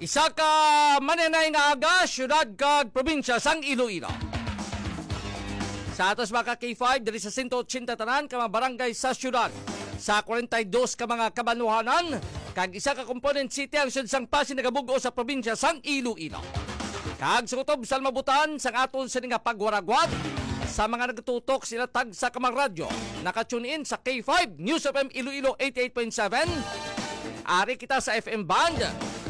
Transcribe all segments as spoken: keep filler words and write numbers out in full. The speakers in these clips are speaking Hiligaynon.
Isa ka maninay nga aga, siyudad kag probinsya sang Iloilo. Sa atos mga ka K five, diri sa sento ochenta tanan ka mga barangay sa siyudad, sa kwarenta y dos ka mga kabanwahanan, kag isa ka component city ang siyudad sang Passi nagabug-os sa probinsya sang Iloilo. Kag sa kutob sa mabutan sang aton sini nga pagwaragwat sa mga nagtutok sila tagsa ka mga radyo, naka-tune in sa K five News F M Iloilo eighty-eight point seven. Ari kita sa F M band,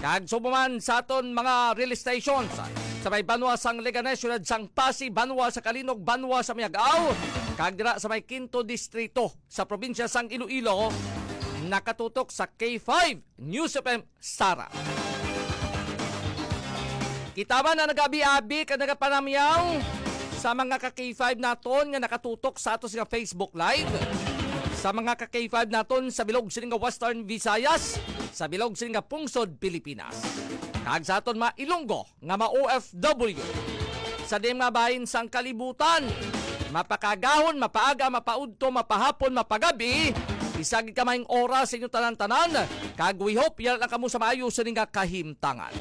kag subong man sa aton mga relay stations sa may banwa sang Leganes, siyudad sang Passi, banwa sa Calinog, banwa sa Miag-ao, kag dira sa may Quinto Distrito sa probinsya sang Iloilo, nakatutok sa K five News F M Sara. Kita man ang nagabi-abi kag nagapanamyaw sa mga ka K five naton nga nakatutok sa ato nga Facebook Live, sa mga ka K five naton sa bilog sini nga Western Visayas, sa bilog sini nga pungsod Pilipinas, kag sa aton mga Ilonggo nga ma-O F W sa diin mga bahin sang kalibutan. Mapakagahon, mapaaga, mapaudto, mapahapon, mapagabi, isa gid ka maayong oras sa inyo tanan-tanan, kag we hope yara lang kamo sa maayo sini nga kahimtangan.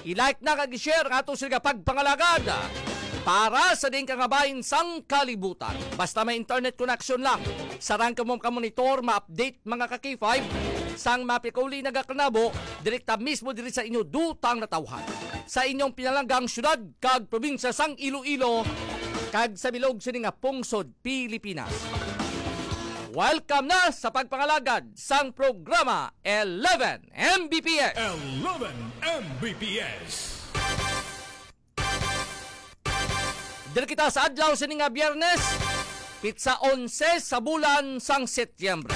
I-like na kag i-share ang ato sini nga pagpangalagad para sa diin ka nga bahin sang kalibutan. Basta may internet connection lang, sarang kamo ka-monitor, ma-update mga ka K five sang mapikuli nagakanabo direkta mismo diri sa inyo dutang natawhan, sa inyong pinalanggang syudad kag probinsya sang Iloilo, kag sa bilog sini nga pungsod Pilipinas. Welcome na sa pagpangalagad sang programa eleven M B P S. Eleven M B P S. Diri kita sa adlaw sini nga Biyernes, pitsa onse sa bulan sang Setyembre.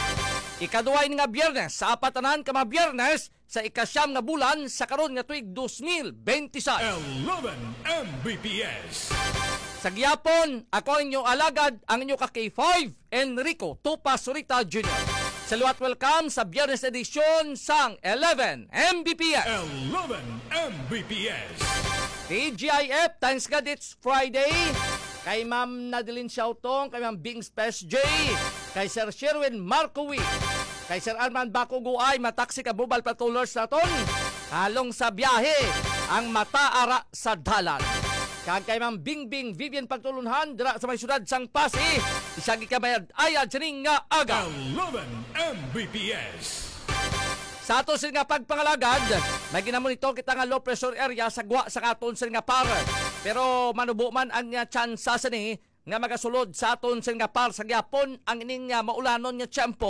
Ikaduha ini nga Biyernes sa apat tanan ka mga Biyernes sa ikasyam nga bulan sa karon nga tuig dos mil benti sais. Eleven M B P S. Sa gihapon, ako ang inyo alagad, ang inyo ka K five, Enrico Tupa Surita Junior. Sa liwat, welcome sa Biyernes edisyon sang eleven M B P S. Eleven M B P S. T G I F, thanks God it's Friday. Kay Ma'am Nadeline Siautong, kay Ma'am Bing Spes J, kay Sir Sherwin Marcowi, kay Sir Arman Baco Guay, mataksi ka mobile patrollers naton. Halong sa biyahe ang mata ara sa dalan. Kag kay Ma'am Bingbing Vivian Pagtulunhan dira sa may siyudad sang Passi, isa gid ka mayad-ayad sining nga aga. Eleven M B P S. Sa ato sini nga pagpangalagad, may ginamonitor kita nga low pressure area sa gwa sa aton sini nga par. Pero manubo man ang, ah, tsansa sini nga magasulod sa aton sini nga par sa gihapon ang ining, ah, maulanon nga tiyempo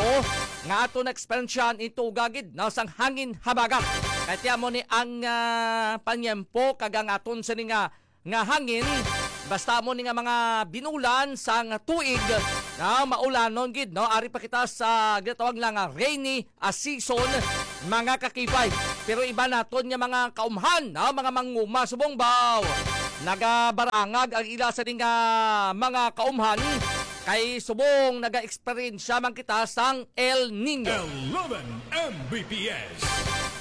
nga aton na-eksperyensyahan, ito gagid na sang hangin habagat. Kay tiyan mo ni ang, ah, panyempo kag ang aton sini nga nga hangin, basta mo ni nga mga binulan sang tuig, na maulanon gid, no? Ari pa kita sa ginatawag lang nga rainy, ah, season, mga ka K five. Pero iba naton nga mga kaumhan, no? Mga manguma subong baw, nagabarangag ang ila sa nga mga kaumhan, kay subong naga-eksperyensya man kita sang El Niño. Eleven M B P S.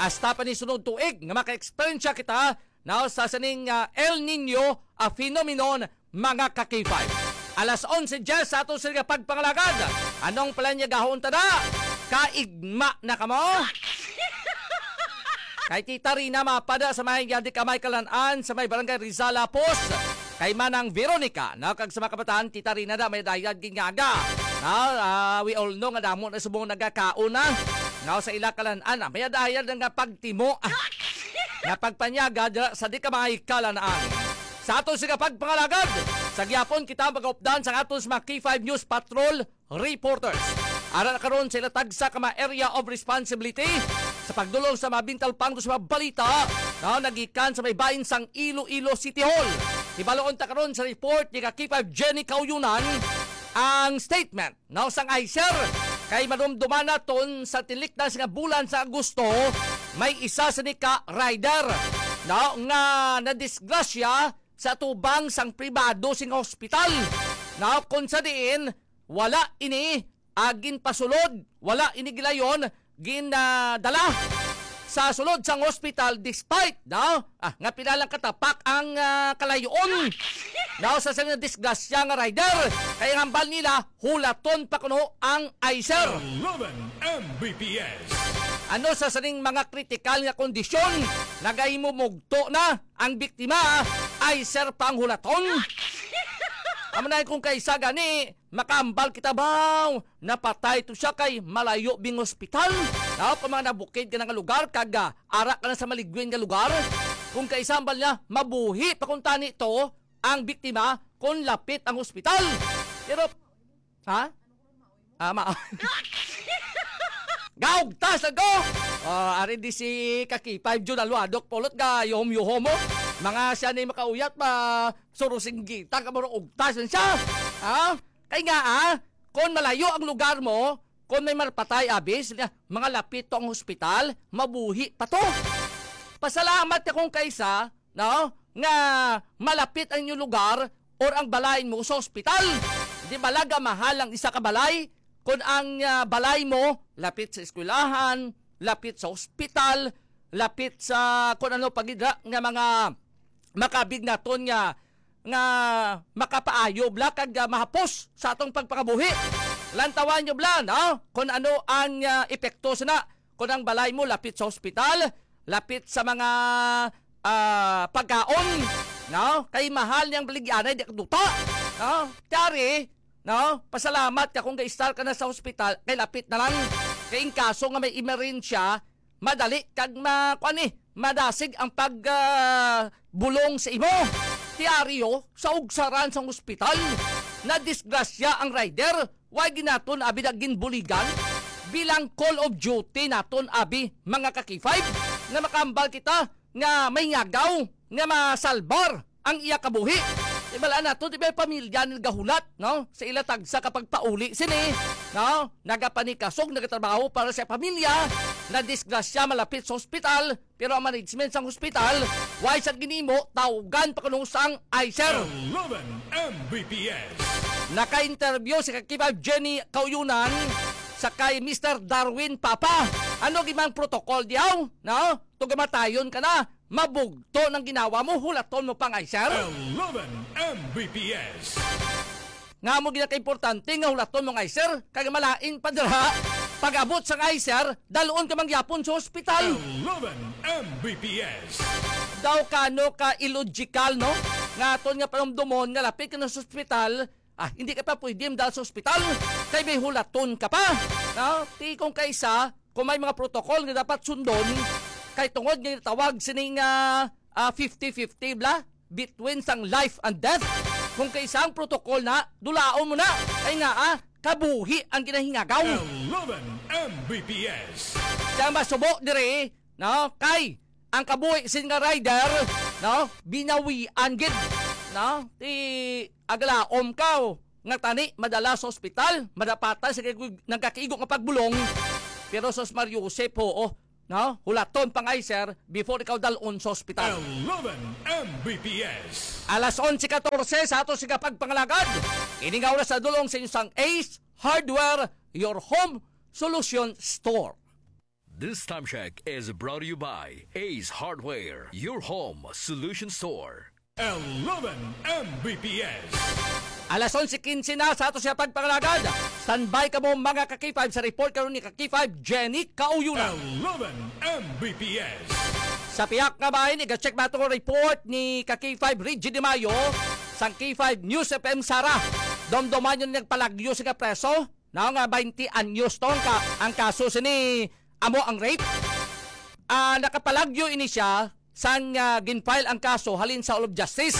Hasta pa ni sunod tuig nga maka-eksperyensya kita now sa sining, ah, El Niño, ah, phenomenon, mga ka K five. Alas onse diyes sa ato sini nga pagpangalagad. Anong palalyagahon ta na? Kaigma na kamo? Kay Tita Rina mapada sa may yadi ka may kalan-an sa may barangay Rizal Lapos. Kay Manang Veronica, no, kag sa mga kabataan, Tita Rina na may dayad gingaga. No, ah, we all know nga damo na subong nagakaon na. No, sa ila kalan-an, ah, may dayad nga pagtimo. Nga pagpanyaga dira sa di ka mga ikalanaan. Sa aton sini nga pagpangalagad, sa gihapon kita magaupdan sa aton sa mga K five News Patrol reporters. Ara na karon sa ila tagsa ka mga area of responsibility sa pagdulong sa mga bintalpang sa mga balita na nagikan sa may bahin sang Iloilo City Hall. Hibaloon ta karon sa report ni ka K five Jenny Kauyunan ang statement no, sang ICER, kay madumduman naton sa tilikdan sa nga bulan sa Agosto, may isa sini ka rider, no, nga nadisgrasya sa tubang sang pribado sing hospital, no, kung sa diin wala ini, ah, ginpasulod, wala ini gilayon, gin, ah, dala sa sulod sang hospital despite, no, ah, nga pila lang katapak ang, ah, kalayon. Now, sa sini nga disgrasya nga rider, kay ang hambal nila, hulaton pa kuno ang ICER. Eleven M B P S. Ano sa sining mga kritikal nga kondisyon nagahimo mugto na ang biktima, ay sir, panghulaton? Amo na kung kaisa gani, makambal kita baw, napatay to siya kay malayo bing hospital. Daw pa mga nabukid ka na nga lugar, kag ah, ara ka na sa maligwin nga lugar. Kung kaisa hambal niya, mabuhi pa kung tani to ang biktima kung lapit ang hospital. Pero, ha? Ah, ma- Gaugtas na ko! Ah, ari di si Kaki Five Jun Aluadok Pulot ga yuhom-yuhom mo. Mga siya ni makauyat pa surusinggita ka maro ugtas na siya. Ha? Kay nga ah, kung malayo ang lugar mo, kung may marpatay abis, mga lapit to ang hospital, mabuhi pa to. Pasalamat ka kung kaisa, no, nga malapit ang inyong lugar or ang balay mo sa ospital. Di bala nga mahal ang isa ka balay? Kung ang ah, balay mo lapit sa eskwelahan, lapit sa ospital, lapit sa kung ano pa gid ra nga mga makabig naton nga nga makapaayo bala kag ah, mahapos sa atong pagpangabuhi. Lantawan nyo bala, no? Kung ano ang ah, epekto sana kung ang balay mo lapit sa ospital, lapit sa mga ah, pagkaon, no? Kay mahal niyang baligyanay, di ka duta, no? Tiyari, no? Pasalamat ka kung ga-stay ka na sa ospital, kay lapit na lang. Kay in kaso nga may emerensya, madali kag ma-, kuan ni, madasig ang pag ah, bulong sa imo. Tiyari, oh, sa ugsaran sang ospital, nadisgrasya ang rider. Why ginaton abi na ginbuligan? Bilang call of duty naton abi, mga ka-K five, nga makambal kita nga may ngagaw nga masalbar ang iya kabuhi. Ibalaan nato, di ba, pamilya ni nagahulat, no? Sa ila tagsa ka pagpauli sini, no? Nagapanikasog, nagatrabaho para sa pamilya, nadisgrasya, malapit sa ospital, pero ang management sang ospital, why sa ginimo, tawgan pa kuno sang ICER. Eleven M B P S. Naka-interview si Kakiba Jenny Kauyunan sa kay Mister Darwin Papa. Ano gimang protocol diyaw? No? Tugamatayon ka na, mabugto nang ginawa mo, hulaton mo pang ICER? Eleven M B P S. Nga mo ginakaimportante nga hulaton mo nga ICER, kag malain pa dira, pag-abot sang ICER, dalon ka mangyapon sa ospital. Eleven M B P S. Daw kano ka illogical, no? Nga aton nga panumdomon nga lapit ka na sa ospital, ah, hindi ka pa pwede madala sa ospital, kay may hulaton ka pa. No? Ti kung kaisa, kung may mga protocol nga dapat sundon, kay tungod nga tawag sining ah, ah, fifty fifty bla, between sang life and death. Kung kaisa ang protocol na, dulaon mo na. Kay nga, ah, kabuhi ang ginahingagaw. Eleven M B P S. Kaya masubo diri, no? Kay ang kabuhi sin nga rider, no? Binawian gid, no? Ti aglaom ka, oh, nga tani madala sa ospital, madapatan sa kay-, nagkakigo nga pagbulong. Pero sus Mario Joseph, oo, no? Hulaton pang ICER before ikaw dalon sa ospital. Eleven M B P S. Alas onse katorse sa ato siga pagpangalagad. Ini nga oras sa dulong sa inyo sang Ace Hardware, your home solution store. This time check is brought to you by Ace Hardware, your home solution store. Eleven M B P S. Alas onse quince na sa ato siya pagpangalagad. Standby kamo, mga ka-K five, sa report karon ni ka-K five, Jenny Kauyunan. Eleven M B P S. Sa pihak nga bahin, iga-check ba itong report ni ka-K five, Reggie De Mayo, sang K five News F M Sara. Domdoman yun nagpalagyo sa preso. Now nga twenty anyos to ang, ka, ang kaso sini amo ang rape. Ah, nakapalagyo ini siya sang ah, ginfile ang kaso halin sa Hall of Justice.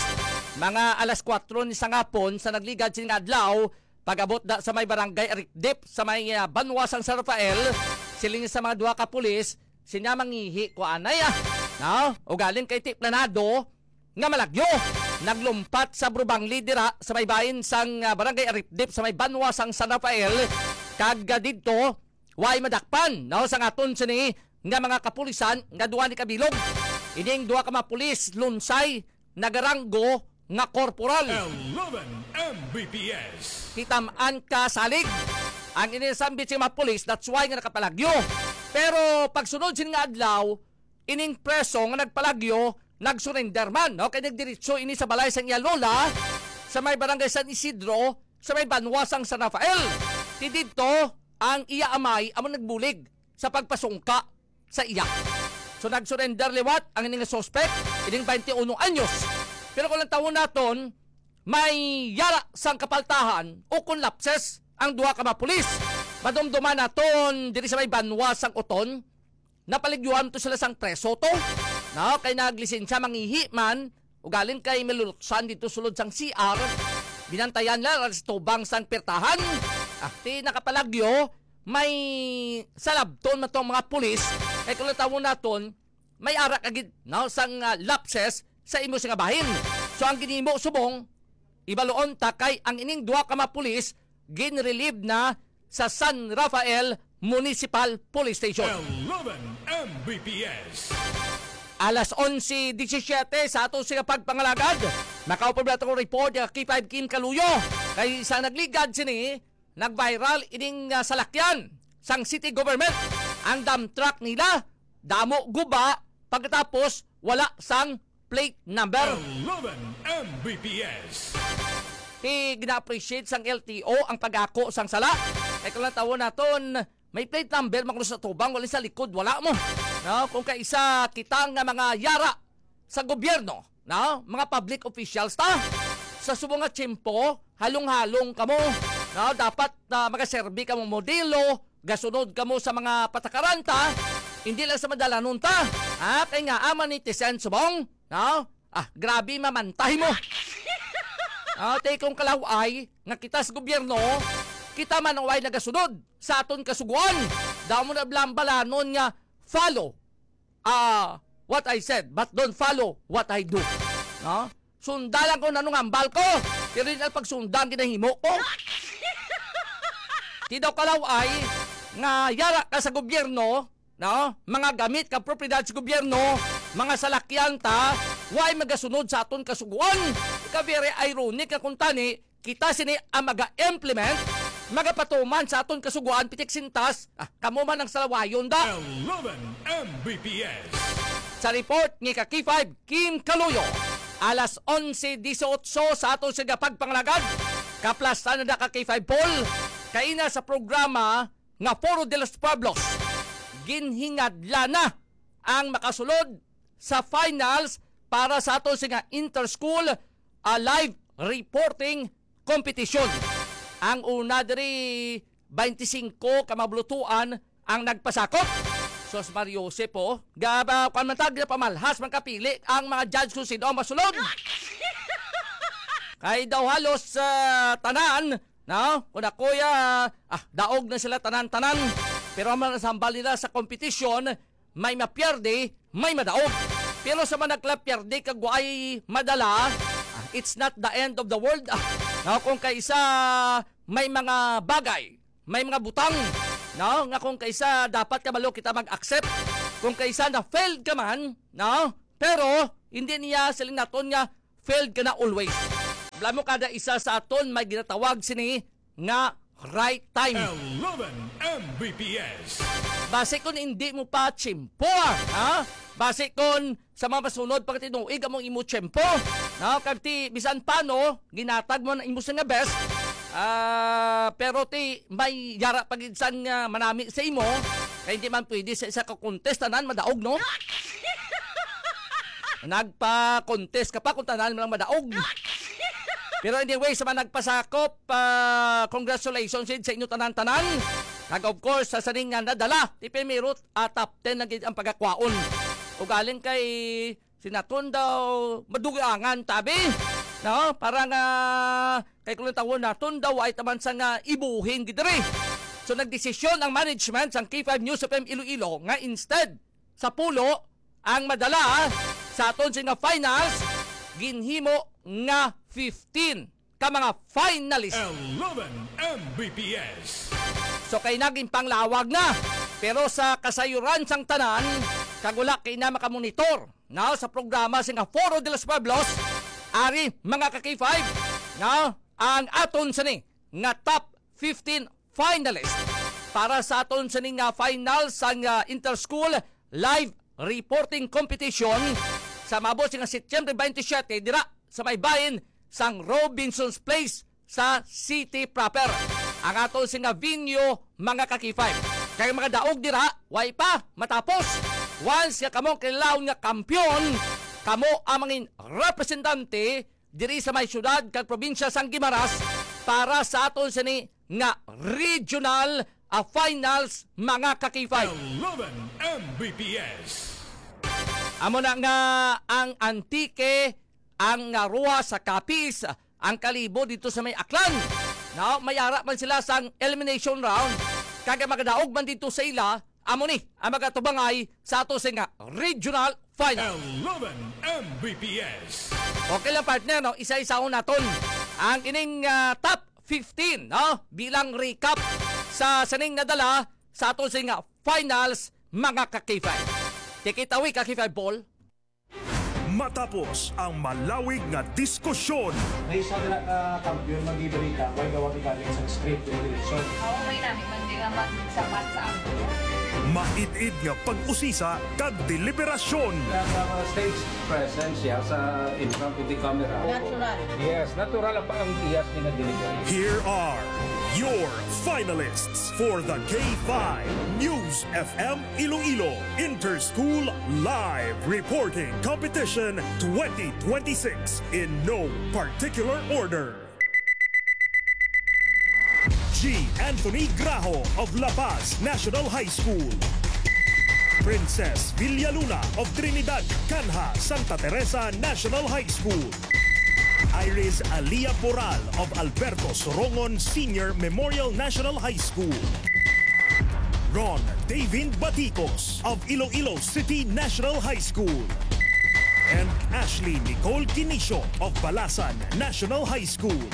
Mga alas kuwatro ni sa ngapon sa nagligad sini nga adlaw, pag-abot da sa may barangay Arikdip sa may ah, banwa sang San Rafael, siling sa mga duha ka pulis, sinya mangihi ko anay ah. No? Ugaling kay ti planado nga malagyo. Naglumpat sa Brubangli dira sa may bahin sang ah, barangay Aripdip sa may banwa sang San Rafael. Kag ah, didto, way madakpan, no, sang aton sini nga mga kapulisan nga duha ni kabilog. Ining duha ka mga pulis, lunsay, nagaranggo nga korporal. Eleven M B P S. Kitam-an ka salig ang inisambit sa mga pulis, that's why nga nakapalagyo. Pero pagsunod sini nga adlaw, ining preso nga nagpalagyo, nagsurrender man, no? Kay nagdiretso ini sa balay sang iya lola sa may barangay San Isidro, sa may banwa sang San Rafael. Ti didto, ang iya amay amo nagbulig sa pagpasungka sa iya. So, nag-surrender liwat ang ini nga suspect, ining twenty-one anyos. Pero kung lantawon naton, may yara sang kapaltahan o kung lapses ang duha ka mga pulis. Madumduman naton diri sa may banwa sang Oton, napaligyuhan to sila sang preso to. No, kay naglisensya mangihi man, ugaling kay maluluksan dito sulod sang C R, binantayan nila sa tubang sang pirtahan. Ati nakapalagyo, may salabton man tong mga pulis, kay kung natawon naton, may ara ka gid, no, sang, ah, lapses sa imo sing bahin. So, ang ginimo subong, ibaluon ta kay ang ining duha ka mga pulis ginrelieve na sa San Rafael Municipal Police Station. Eleven M B P S. Alas onse disisiyete sa ato sing pagpangalagad. Makaupod na itong report nga K five Kim Kaluyo. Kay sa nagligad sini, nag-viral ining, ah, salakyan sang city government. Ang dump truck nila, damo guba, pagkatapos wala sang plate number. Eleven M B P S. Ti gina-appreciate sang L T O ang pag-ako sang sala. Kay kung lantawon naton, may plate number man kuno sa tubang, wala sa likod, wala mo. No? Kung kaisa kita nga mga yara sa gobyerno, no? Mga public officials ta, sa subong nga tiyempo, halong-halong kamo. No? Dapat, ah, magaserbi kamo modelo, gasunod kamo sa mga patakaran ta, hindi lang sa madalanon ta. Ha? Kay nga, ama ni Tisen subong, no? Ah, grabe mamantay mo. Ah, tay kong kalaway nga kita sa gobyerno, kita man ang way nagasunod sa aton kasuguan. Daw mo na balanon nga follow, ah, what I said, but don't follow what I do. No? Sunda lang kung anong hambal ko, pero hindi lang pagsunda ang ginahimo ko. Ti daw kalaway nga yara ka sa gobyerno, no? Mga gamit ka propiedad sa gobyerno, mga salakyan ta, way magasunod sa aton kasuguan. Ika very ironic nga kung tani, kita sini ang maga-implement, magapatuman sa aton kasuguan, pitik sintas, ah, kamo man ang salawayon da. Eleven M B P S. Sa report ni ka K five, Kim Kaluyo, alas onse dieciocho sa aton sing pagpangalagad, kaplasan na ka K five Paul, kaina sa programa nga Foro de los Pueblos, ginhingadlan na ang makasulod sa finals para sa aton sing inter-school, ah, live reporting competition. Ang una diri, twenty-five ka mabulutuan ang nagpasakop. Sos Mario Joseph, oh. Gaba, kwan man tag, pamalhas man kapili ang mga judge kung sino ang masulod. Kay daw halos, ah, tanan, no? Kung ako'y, ah, ah, daog na sila tanan-tanan. Pero ang mga sambal nila sa competition, may mapierde, may madaog. Pero sa mga naglapierde kag way madala, ah, it's not the end of the world. Ah, no? Kung kaisa may mga bagay, may mga butang, no? Nga kung kaisa dapat kabalo kita mag-accept. Kung kaisa na-failed ka man, no? Pero hindi niya siling naton nga failed ka na always. Alam mo, kada isa sa aton may ginatawag sini nga right time. Eleven M B P S. Basi kung hindi mo pa tsimpo, ha? Basi kung sa mga masunod pagkatinuig among imo tiyempo, no? Kag ti, bisan pa, no, ginatag mo na imo sa nga best, ah, pero ti, may yara pa gid sang, ah, manami sa imo, kay hindi man pwede sa isa ka contest tanan madaog, no? Nagpa-contest ka pa kung tanan mo lang madaog. Pero anyway, sa mga nagpasakop, ah, congratulations sa inyo tanan-tanan. Kag of course, sa sining nga nadala, ti primero, ah, top ten na gid ang pagakwaon. Ugaling kay sinaton daw madugangan tabi, no? Para nga kay kung tawon naton daw ay taman sa nga ibuhin gid diri. So nagdesisyon ang management sang K five News F M Iloilo nga instead sa pulo ang madala sa aton sing nga finals, ginhimo nga fifteen ka mga finalist. Eleven M B P S. So kay naging panglawag na, pero sa kasayuran sang tanan, kag wala kay na makamonitor, no, sa programa sing nga Foro de los Pueblos, ari mga ka K five, no, ang aton sini nga top fifteen finalist para sa aton sini nga final sang, ah, Inter-School Live Reporting Competition sa maabot sing nga Setyembre twenty-seven dira sa may bahin sang Robinson's Place sa city proper. Ang aton sing nga venue, mga ka K five. Kay mga daog dira, way pa matapos. Once nga kamo ang kinalaon nga kampiyon, kamo ang mangin representante diri sa may syudad kag probinsya sang Guimaras para sa aton sini nga regional, ah, finals, mga ka-K five. Eleven M B P S. Amo na nga ang Antique, ang, ah, Roxas sa Capiz, ang Kalibo dito sa may Aklan. Now, may ara man sila sang elimination round. Kag ang magadaog man dito sa ila, amo ni ang magatubangay sa ato sa nga regional final. Eleven M B P S. Okay lang, partner, no? Isa-isahon naton ang ining, ah, top fifteen, no? Bilang recap sa sining nadala sa ato sa nga finals, mga ka-K five. Take it away, ka-K five Ball. Matapos ang malawig nga diskusyon, may isa dira ka kampiyon magibalita, way gawat galing sa script nga direksyon. Oo, may nami man di nga magsapat sa aktor. Maid-id nga pag-usisa kag deliberasyon. Nag, uh, stage presence siya sa in front of the camera. Natural. Yes, natural ang, ang iyas ni nga delivery. Here are your finalists for the K five News F M Iloilo Interschool Live Reporting Competition twenty twenty-six in no particular order. G. Anthony Graho of La Paz National High School. Princess Villaluna of Trinidad Canha Santa Teresa National High School. Iris Alia Poral of Alberto Sorongon Senior Memorial National High School. Ron Davin Baticos of Iloilo City National High School. And Ashley Nicole Quinicio of Balasan National High School.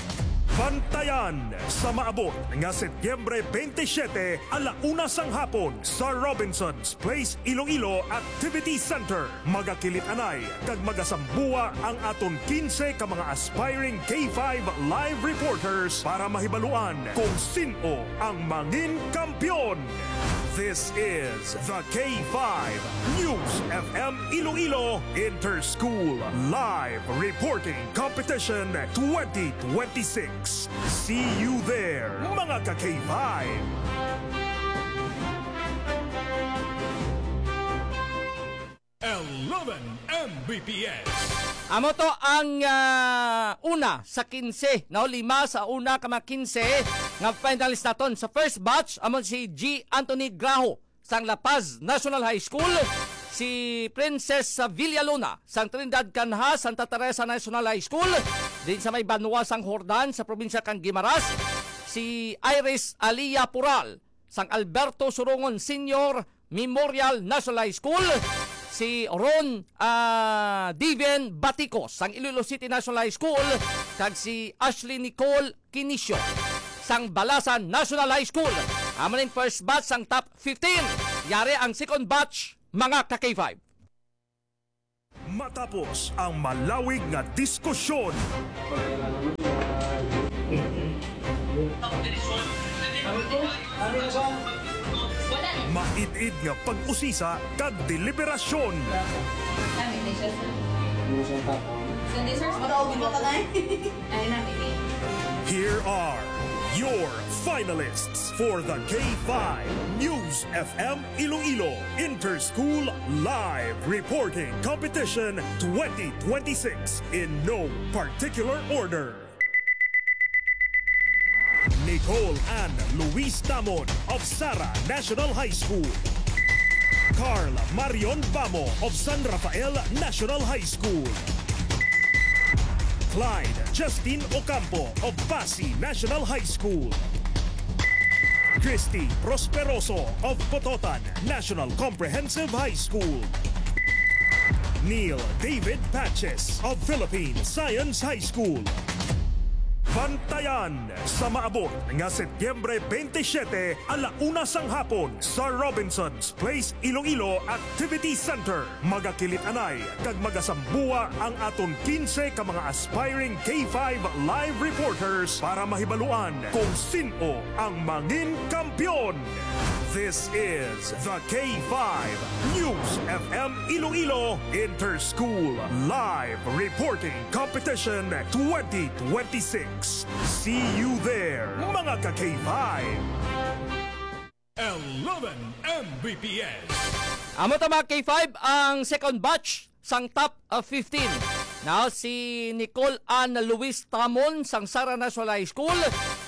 Bantayan sa maabot nga Setyembre twenty-seven, ala una sang hapon sa Robinson's Place Iloilo Activity Center. Magakilit-anay kag magasambuwa ang aton quince ka mga aspiring K five live reporters para mahibaluan kung sin-o ang mangin kampiyon. This is the K five News F M Iloilo Interschool Live Reporting Competition twenty twenty-six. See you there, mga ka-K five! Eleven M B P S. Amo to ang, ah, una sa quince, no? Lima sa una ka mga quince nga finalist naton. Sa first batch, amo si G. Anthony Graho sang La Paz National High School, si Princess Villalona sang Trinidad Canha Santa Teresa National High School, din sa may banwa sang Jordan sa probinsya kang Guimaras, si Iris Alia Pural sang Alberto Surongon Senior Memorial National High School, si Ron, ah, Diven Baticos sang Iloilo City National High School, kag si Ashley Nicole Quinicio sang Balasan National High School. Amo ning first batch sang top fifteen. Yari ang second batch, mga ka-K five. Matapos ang malawig nga diskusyon, maid-id nga pag-usisa kag deliberasyon. Kami ni siya, sir. Hindi, sir. Mataog mo ka na eh. Ay, namin eh. Here are your finalists for the K five News F M Iloilo Interschool Live Reporting Competition twenty twenty-six in no particular order. Nicole Ann Luis Tamon of Sara National High School. Carl Marion Bamo of San Rafael National High School. Clyde Justin Ocampo of Pasi National High School. Christy Prosperoso of Pototan National Comprehensive High School. Neil David Patches of Philippine Science High School. Bantayan sa maabot nga Setyembre twenty-seven, ala una sang hapon sa Robinson's Place Iloilo Activity Center. Magakilit-anay kag magasambuwa ang aton quince ka mga aspiring K five live reporters para mahibaluan kung sin-o ang mangin kampiyon. This is the K five News F M Iloilo Interschool Live Reporting Competition twenty twenty-six. See you there, mga ka-K five! Eleven M B P S. Amo ta, mga K five, ang second batch sang top, uh, fifteen. Now, si Nicole Ann Luis Tamon sang Sara National High School,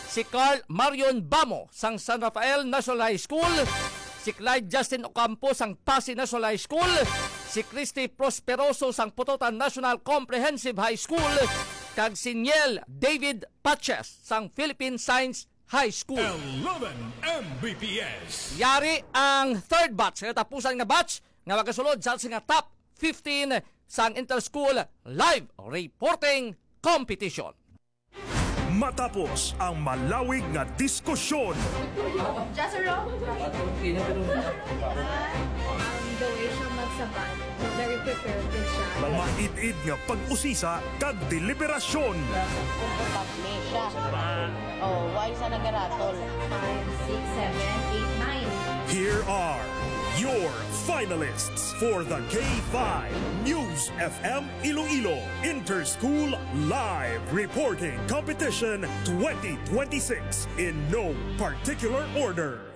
si Carl Marion Bamo sang San Rafael National High School, si Clyde Justin Ocampo sang Passi National High School, si Christy Prosperoso sang Pototan National Comprehensive High School, kag si Niel David Paches sang Philippine Science High School. Eleven M B P S. Yari ang third batch, katapusan nga batch nga magasulod sa, sa nga top fifteen sang Interschool Live Reporting Competition. Matapos ang malawig nga diskusyon, Jazero? Ang the way siya magsabay. Very prepared din siya. Maid-id nga pag-usisa kag deliberasyon. Ni siya. Oh, why sa nagaratol? Five, six, seven, eight, nine. Here are your finalists for the K five News F M Iloilo Interschool Live Reporting Competition twenty twenty-six in no particular order.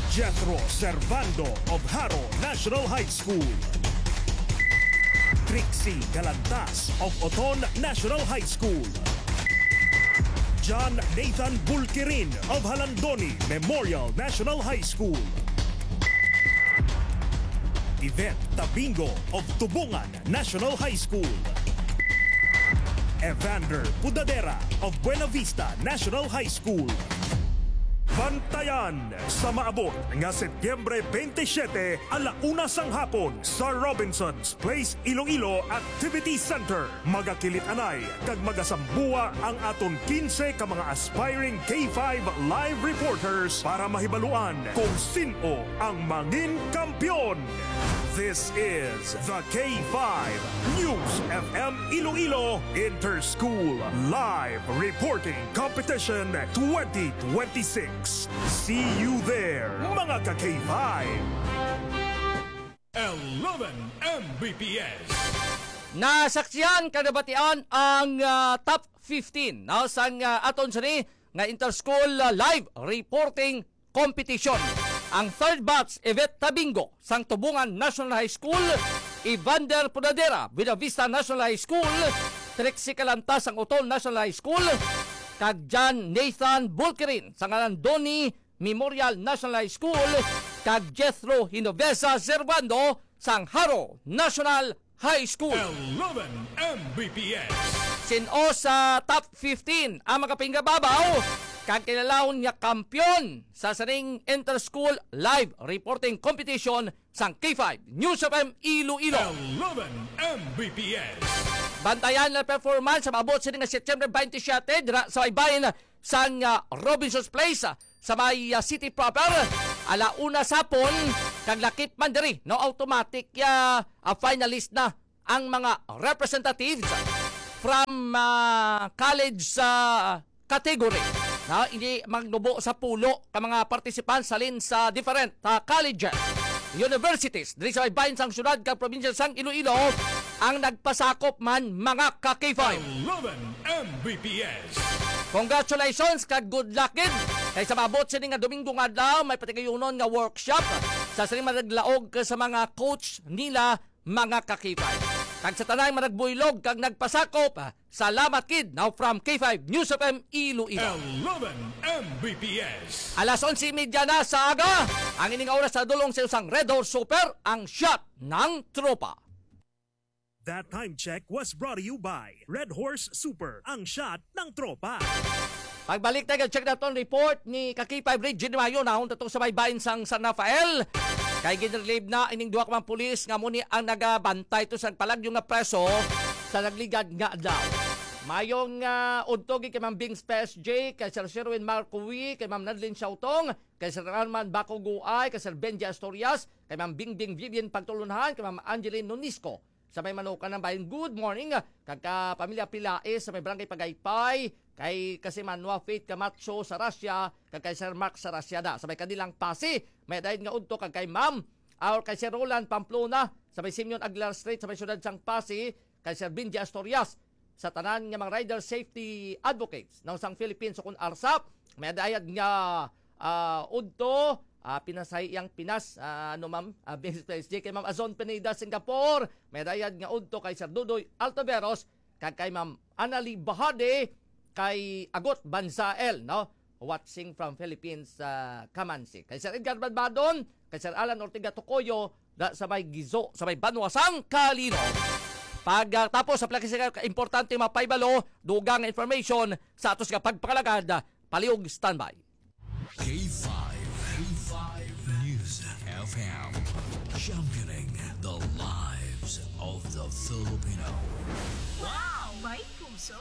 Jethro Servando of Jaro National High School. Trixie Galantas of Oton National High School. John Nathan Bulkirin of Jalandoni Memorial National High School. Yvette Tabingo of Tubungan National High School. Evander Pudadera of Buena Vista National High School. Bantayan sa maabot nga Setyembre twenty-seven, ala una sang hapon, sa Robinson's Place Iloilo Activity Center. Magakilit-anay kag magasambuwa ang aton quince ka mga aspiring K five live reporters para mahibaluan kung sin-o ang mangin kampiyon. This is the K five News F M Iloilo Interschool Live Reporting Competition twenty twenty-six. See you there, mga ka-K five! Eleven M B P S. Nasaksihan kag nabatian ang, ah, top fifteen, no, sang, ah, aton sini nga Interschool, ah, Live Reporting Competition. Ang third batch, Yvette Tabingo sang Tubungan National High School, Evander Pudadera, Buena Vista National High School, Trixie Calantas sang Oton National High School, kag John Nathan Bulkirin sang Jalandoni Memorial National High School, kag Jethro Genovesa Servando sang Jaro National High School. Eleven M B P S. Sin-o sa top fifteen ang makapinggababaw kag kilalahon nga kampiyon sa sining Interschool Live Reporting Competition sang K five News F M Iloilo. Eleven M B P S. Bantayan ang performance sa maabot sini nga Setyembre twenty-seven dira sa baybayin sang, ah, Robinson's Place, ah, sa may, ah, city proper. Ala una sa hapon, kag lakip man diri, no, automatic, ah, ah, finalist na ang mga representatives from, ah, college, ah, category. Na, ini magnubo sa pulo ka mga participants halin sa different, ah, colleges, universities diri sa baybayin sang syudad kag probinsya sang Iloilo ang nagpasakop man, mga ka-K five. Eleven M B P S. Congratulations kag good luck gid. Kay sa maabot sini nga Domingo nga adlaw, may patigayunon nga workshop sa sini managlaog sa mga coach nila, mga ka-K five. Kag sa tanang managbuylog kag nagpasakop, salamat gid. Now from K five News F M Iloilo. Eleven M B P S. Alas onse y media na sa aga. Ang ining oras sa dulong sa usang Red Horse Super, ang shot ng tropa. That time check was brought to you by Red Horse Super, ang shot ng tropa. Pagbalik tayo, check naton report ni ka-K five Regine Mayo, nahon tato sa baybayin sang San Rafael. Kay ginrelieve na ining duha ka mga pulis nga amo ni ang nagabantay to sa nagpalagyo nga preso sa nagligad nga adlaw. Mayong, ah, udto gid kay Ma'am Bings P S J, kay Sir Sherwin Marcowi, kay Ma'am Nadlin Siautong, kay Sir Arman Baco Guay, kay Sir Benji Asturias, kay Ma'am Bingbing Vivian Pagtulunhan, kay Ma'am Angeline Nonisco. Sa may Manukan ng Bayan, good morning, ah, kag ka pamilya Pilaes sa may Barangay Pagaypay, kay kasi Manwa Faith Camacho sa Russia, kag kay Sir Mark sa Russia da. Sa may Kadilang Pasi, may dayad nga udto kag kay Ma'am, or kay Sir Roland Pamplona, sa may Simeon Aguilar Street, sa may siyudad sang Pasi, kay Sir Benji Asturias, sa tanan nga mga rider safety advocates ng sang Philippines, o kun ARSA, may dayad nga ah, udto, ah, Pinasay iyang Pinas, ah, ano, ma'am? Ah, Miss J K, Ma'am Azon Pineda, Singapore. May dayad nga udto kay Sir Dudoy Altaveros, kag kay Ma'am Annalie Bahade, kay Agot Banzael, no? Watching from Philippines, ah, Kamansi. Kay Sir Edgar Badbadon, kay Sir Alan Ortega Tocoyo, da sa may Gizo, sa may Banwa sang Kalino. Pag, ah, tapos sa plakis nga importante mapahibalo, dugang nga information sa atos nga pagpangalagad, palihog standby. K five, K five News F M, championing the lives of the Filipino. Wow! May puso!